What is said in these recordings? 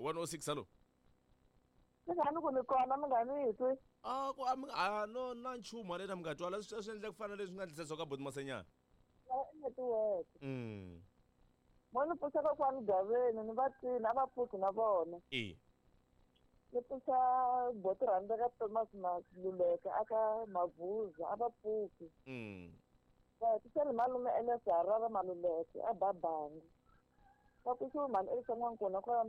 106 hello. Ni nga ni ku ni kona mi nga ni twi. A ku a mi a no na nchumu haleni mi nga twala swi endla ku fana leswi nga endlisa swo ka boti Masenyana. I netiweke. Mo ni pfuxa kokwani Gaveni ni va twini a va pfuki na vona. E. Ni pfuxa boti rhandza ka Thomas Maluleke aka Mavuza a va pfuki. Va pfuxa ni malume Elias Harara Maluleke a Babangi. Va pfuxiwe mhani Elisa N'wankuna kwala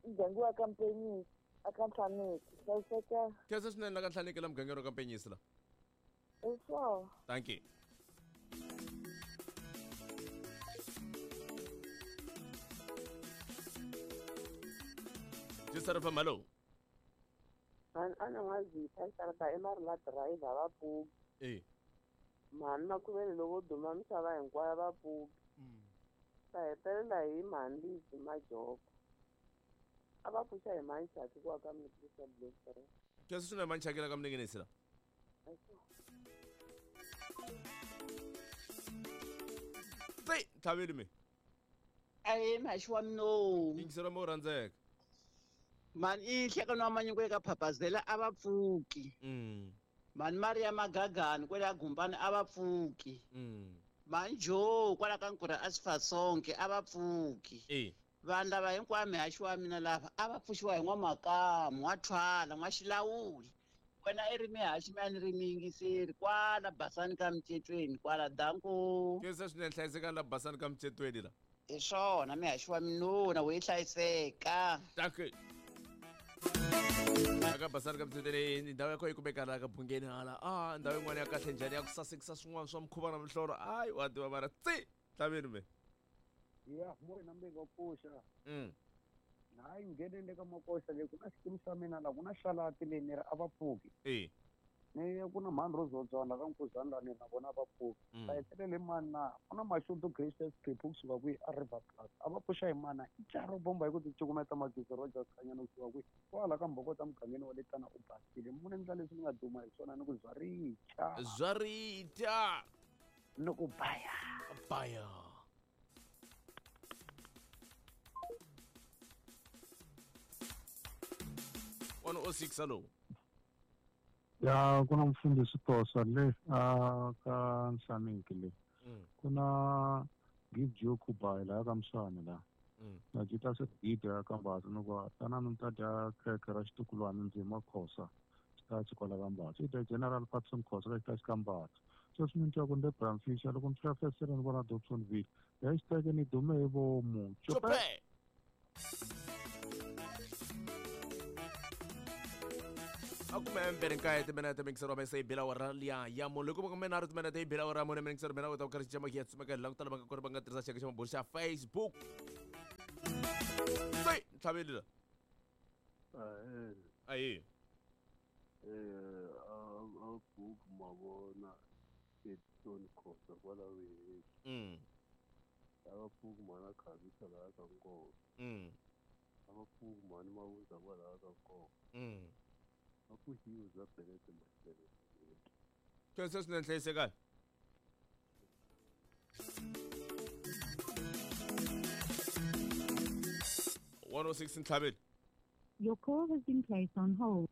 muganga wa ka Mpenyisi aka Nhlaneki. Hlayiseka. Khensa swinene la ka Nhlaneki la mugangeni wa ka Mpenyisi la. Hi swona. Thank you. Jisara fam hello. Mhani a ni n'wa zipha xarata i mari la driver va pfuki. E. Mhani Makhuveni loko duma misava hinkwayo va pfuki. Ta hetelela hi mhani Lizzy Majoko. A va pfuxa hi mhani Chaki ku aka Mnikrista Blue 3. Khensa swinene mhani Chaki la ka Mninginisi la. Tsi, tlhaveli mi. Ahe mhaxi wa mino. Yingisela mo rhandzeka. Mhani i nhlekani wa manyungu eka Phaphazela a va pfuki. Mhani Maria Magagani kwela Gumbani a va pfuki. Mhani Joe kwala ka Nkura a Sifasonke a va pfuki. E. Vanhu lava hinkwavo mihaxi wa mina lava a va pfuxiwa hi n'wamakamu, n'wathwala, n'waxilawuli. Wena i ri mihaxi mina ni ri miyingiseri kwala Basani ka Micetweni kwala danko. Khensa swinene hlayisekani la Basani ka Micetweni la. Hi swona mihaxi wa minona wo yi hlayiseka. Danke. Aka Basani ka Micetweni ndhawu ya kona yi kumeka laha ka Bungeni hala. Ah, ndhawu yin'wana ya kahle njhani ya ku sasekisa swin'wana swa mukhuva na mihlolo. Ayi wa tiva mara tsi tlhaveni me. Ya, mo na mbeka pfuxa. Hayi nghenele ka makoxa leyi ku na xikimu xa mina la ku na xalati leyi ni ri a va pfuki. E. Ni ku na mhani Rozodzwana ka Nkuzana la ni na vona va pfuki. Ta hetelele mani na ku na Mashudu Gracious Phephu kusuka kwihi a River Plus. A va pfuxa hi mana i charo bomba hi ku ti cukumeta Magezi Rogers Khanyana kusuka kwihi. Kwala ka Mbhokota mugangeni wa le Tana u basile. Mune ndla leswi ni nga duma hi swona ni ku zwa richa. Zwa richa. Ni ku baya. Baya. 106 hello. Ya ku na mfundhisi Tosa le a ka Nhlaneki le. Ku na Gideon Kubai laha ka Mswani la. Na jita se Gideon ka Mbazi ni ku tanani mi ta dya khekhe ra xitukulwana ndzima Khosa xitachi kwala ka Mbazi. I dya General Patson Khosa ka xitachi ka Mbazi. Sweswi ni twa ku ni le Bramfisher loko ni fika fesere ni vona Dobsonville. Hashtag ni dume hi vomu. Chope! A kume mbirhi nkaye timinete mingisero wa se bila wa liya ya munhu loko kume nharhu timinete yi bila wa mune mingisero mina u ta ku karhi xi ya tsumeka la ku tala va nga kona va nga tirhisa xiyenge xa mabulo xa Facebook. Se ntlhaveli la. Ayi. A book mavona Edson Khosa kwala weheni. A va pfuki mhani a khavisa laha ka Nkova. A va pfuki mhani Mawuza kwalaha ka Nkova. A pfuxiwe bya Belete Mashele. Khensa swinene hlayisekani. 106 ntlhaveli. Your call has been placed on hold.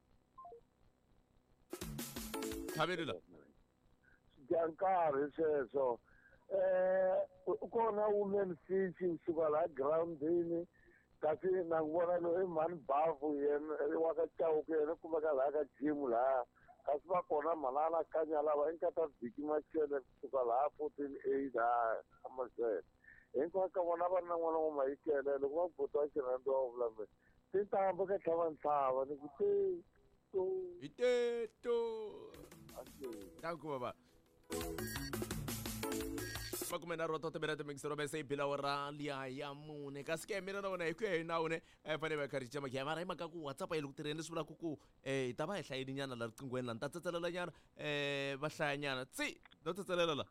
Ntlhaveli la. Dya nkarhi sweswo. Kona women fish kusuka laha groundini kasi na ku vona loyi i mhani Bavu yena wa ka Chauke yena kumeka laha ka gym laha kasi va kona mhani a kanya lava i nkata Viki Machele kusuka laha 14A laha Amazon. Hinkwavo ka vona va ri na n'wana wa Mayikele loko va buti wa xirhandza wa vula mina tintambu ka tlhava ntlhava ni ku te to hi te to. Danko baba. Makume nharhu wa timinete mingisero bese yi bila ra liya ya mune kasi ke mina na wena hi ku ya hi nawu ne a hi fanele va kha ri cinca makhiya mara hi mhaka ku WhatsApp yi le ku tirheni leswi vulaka ku hi ta va hi hlayile nyana la riqinghweni la ni ta tsetselela nyana va hlaya nyana tsi no tsetselela la.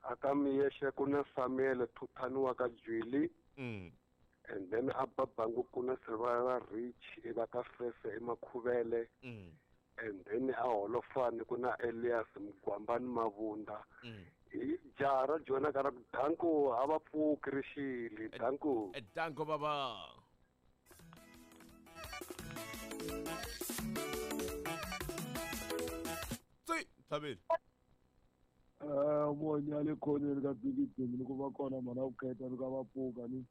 Aka Miyexe ku na Samuel Thuthani wa ka Jwili. And then a Babangu ku na Sirivara Rich e va ka Fese eMakhuvele. And then a Holofani ku na Elias Mugwambani Mavunda. Hi jaha ra Jona ka ra ku danko a va pfuki rixile danko. Danko baba. Tsi, Thabile. Vonya le khoneni ka bigidimi ni ku va kona mhana ku kheta ni ka va pfuka ni.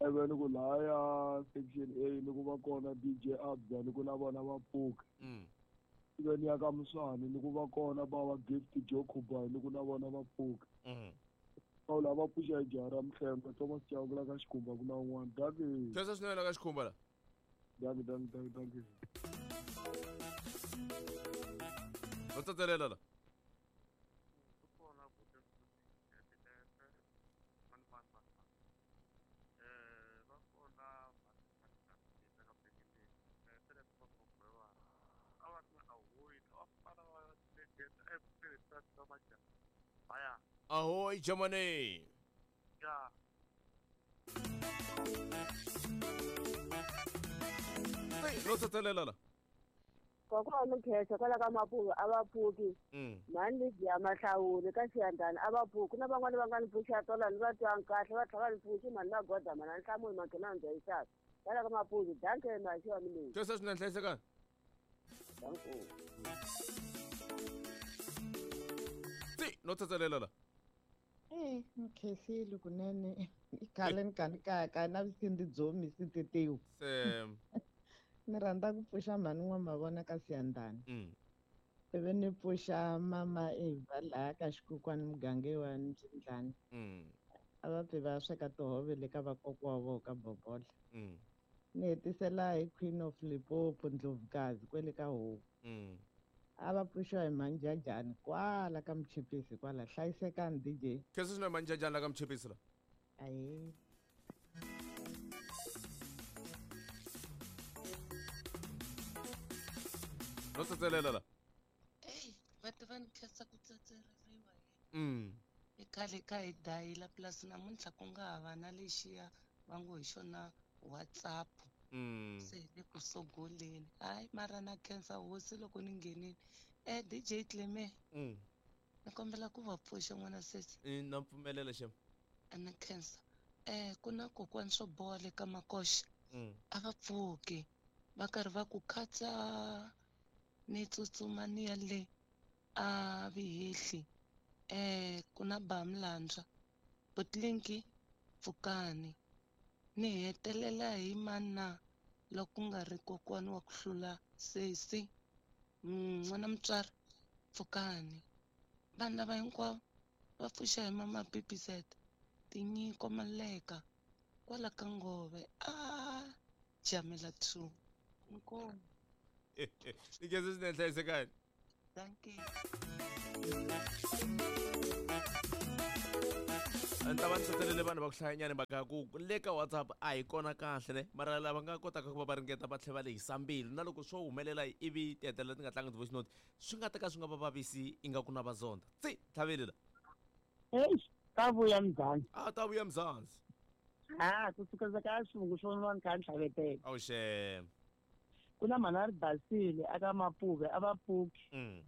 Eve ni ku laya section A ni ku va kona DJ Abza ni ku na vona va pfuka. Ive ni ya ka Muswani ni ku va kona bava Gift Jokuba ni ku na vona va pfuka. Paula va pfuxa hi jaha ra Mhlengo Thomas Chauke la ka Xikhumba ku na un'wana. Dankie. Khensa swinene la ka Xikhumba la. Dankie, dankie, dankie, dankie. Va tsatselela la. Ahoy, Germany. Yeah. Hey, no tsatselela la. Kokwani Mkheso kwala ka Mapuve a va pfuki. Mhani Lydia Mahlawuli ka Xiyandani a va pfuki. Na van'wani va nga ni pfuxa tolo ni va twanga kahle va tlhela va ni pfuxi mhani Magoda mhani Nhlamulo Manghena Ndzayisaka. Kwala ka Mapuve danke maxi wa mina. Khensa swinene hlayisekani. Danke. Tsi, no tsatselela la. Mkhesile kunene i khale ni kha ni kaya na vusindi byo misi tetewu. Sam. Ni rhandza ku pfuxa mhani N'wamavona ka Siyandhani. Ivi ni pfuxa mama Eva laha ka Xikukwani muganga wa Mbyindlani. A va pfi va sweka tihove le ka vakokwa wa vona ka Bobola. Ni hetisela hi Queen of Limpopo Ndlovukazi kwele ka Homu. A va pfuxiwa hi Manjajani kwala ka Mchipisi kwala. Hlayisekani DJ. Khensa swinene Manjajani la ka Mchipisi la. Ahee. No tsatselela la. Ey, va tiva ni khensa ku tsetsereriwa hi. I khale ka hi dayila plus namuntlha ku nga ha va na lexiya va ngo hi xona WhatsApp. Se hi le ku sogoleni. Hayi mara na khensa hosi loko ni nghenile. DJ Cleme. Ni kombela ku va pfuxa n'wana sesi. Na pfumelela xem. A ni khensa. Ku na kokwani swo boha le ka Makoxa. A va pfuki. Va karhi va ku khatsa ni tsutsuma ni ya le a Vihehli. Ku na ba Mlandza. Butlinki pfukani. Ni hetelela hi mana loko ku nga ri kokwani wa ku hlula sesi. N'wana mutswari pfukani. Vanhu lava hinkwavo va pfuxa hi mama BBZ. Tinyiko Maleka kwala ka Ngove. Jamela 2. Inkomu. Ni khensa swinene hlayisekani. Thank you. A ni ta va ni tsatselele vanhu va ku hlayanyana mhaka ya ku le ka WhatsApp a hi kona kahle ne mara lava nga kotaka ku va va ringeta va tlhela va lehisa mbilu na loko swo humelela ivi ti hetelela ti nga tlangi ti-voice note swi nga ta ka swi nga va vavisi ingaku na va zonda. Tsi, Tlhavele la. Eish, ta vuya Mzansi. A ta vuya Mzansi. Ha, ku suka ka xivungu xo nwa ni kha ni tlhavetela. Awu xem. Ku na mhana ri basile aka Mapuve a va pfuki.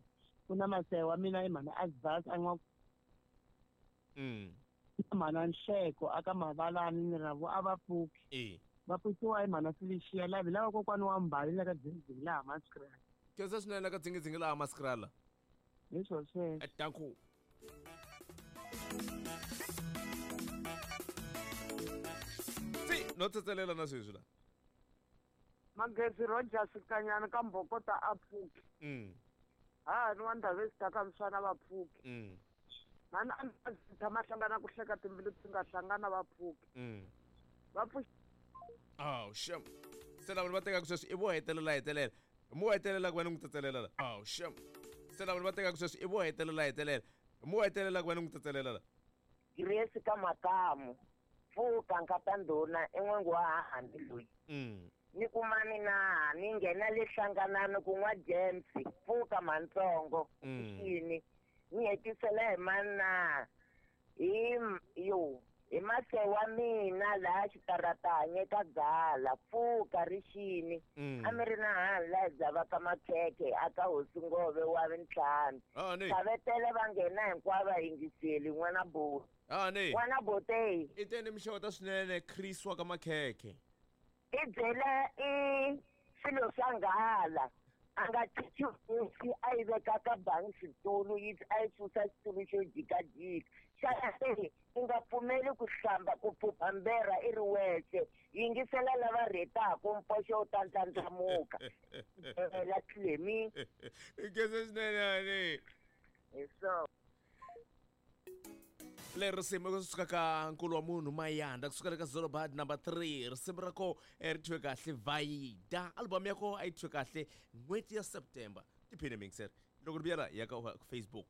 Ku na masewa mina i mhana Azbas a n'wa Mhana Nhleko aka Mavalani ni ravo a va pfuki. Va pfuxiwa hi mhana Felicia lavi lava kokwani wa Mbali la ka Dzingidzingi laha Maskrala. Khensa swinene la ka Dzingidzingi laha Maskrala. Hi swo sweswo. Danko. Tsi, no tsetselela na sweswi la. Magezi Rogers Kanyana ka Mbhokota a pfuki. Ha ni wa Ndhavezitha ka Mswana va pfuki. Mhani a ndzi tshama hlangana ku hleka timbilu ti nga hlangana va pfuki. Va pfuxi. Oh, shem. Se lava va tekaka sweswi i vo hetelela hetelela. Mo hetelela ku va ni n'wi tsetselela la. Oh, shem. Se lava va tekaka sweswi i vo hetelela hetelela. Mo hetelela ku va ni n'wi tsetselela la. Grace ka Makamu. Pfuka nkata ndhuna i n'wangu wa hahani loyi. Ni kuma mina ni nghena le hlanganani ku n'wa James pfuka mantsongo. Xini ni hetisela hi mana hi yo hi masewa mina laha xitaratanye ka Gala pfuka rixini. A mi ri na hani laha dzavaka makhekhe aka Hosi Ngove wa vintlhanu. Tlhavetele va nghena hinkwavo va yingiseli n'wana Bote. N'wana Bote. I teni mixeweta swinene Chris wa ka Makhekhe. I byela i Swilo swa nghala. A nga chichi hosi a yi veka ka bangi xitulu yi a yi susa xitulu xo jikajika. Xana se u nga pfumeli ku hlamba ku phupha mberha i ri wexe? Yingisela lava rhetaku mpoxo wu ta ndlandlamuka. La Clemi. Nkhensa swinene honey. Hi swona. Leri risimu kusuka ka nkulu wa munhu Mayanda kusuka le ka Zolobad number 3 risimu ra ko ri thyiwe kahle Vayida album ya ko a yi thyiwe kahle n'hweti ya September tiphine mixer loko ri vuyela ya ka Facebook.